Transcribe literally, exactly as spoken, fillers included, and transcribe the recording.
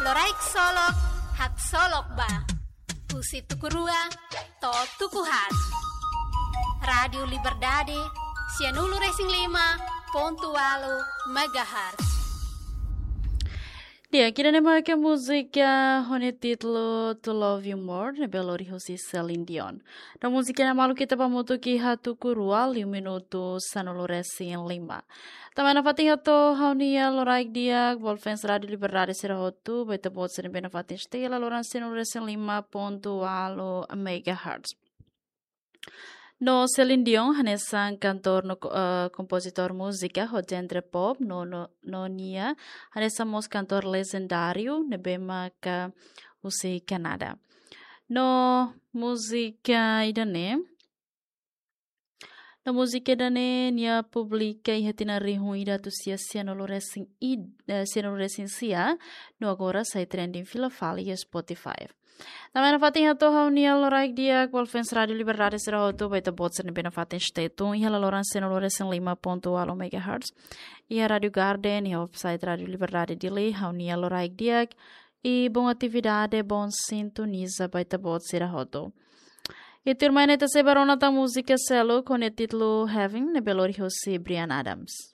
Loraik solok, haksolok ba. Husi tuku rua to'o tuku haat. Rádiu Liberdade, sianulu-resin-lima pontu ualu megahertz. Di'ak, ida-ne'e mak múzika ho nia títulu To Love You More, ne'ebé lori husi Celine Dion. No múzika ne'e maluk ita ba hamutuk iha tuku rua, liu minutu sanulu-resin-lima. Tanba ne'e nafatin hato'o ha'u-nia loraik di'ak ba fans Rádiu Liberdade sira hotu, ba ita-boot sira ne'ebé nafatin stay iha laloran sianulu-resin-lima pontu ualu megahertz. No Celine Dion, hanesan kantór no, eh, kompozitór múzika ho genre pop, no, no, no nia, hanesan mós kantór lejendáriu, ne'ebé maka husi Kanadá. No múzika ida-ne'e, no múzika ida-ne'e nia publika iha tinan rihun ida atus sia sianulu-resin-id-, eh, sianulu-resin-sia, no agora sai trending fila fali iha Spotify. Tanba ne'e nafatin hato'o ha'u-nia loraik di'ak ba fans Rádiu Liberdade sira hotu, ba ita-boot sira ne'ebé nafatin stay tune iha laloran sianulu-resin-lima pontu ualu megahertz. Iha Rádiu Garden, iha website Rádiu Liberdade Dili, ha'u-nia loraik di'ak, i bom atividade, bom sintoniza ba ita-boot sira hotu. I tuirmai ne'e ita sei bá rona tan múzika seluk ho nia títulu Heaven, ne'ebé lori husi Bryan Adams.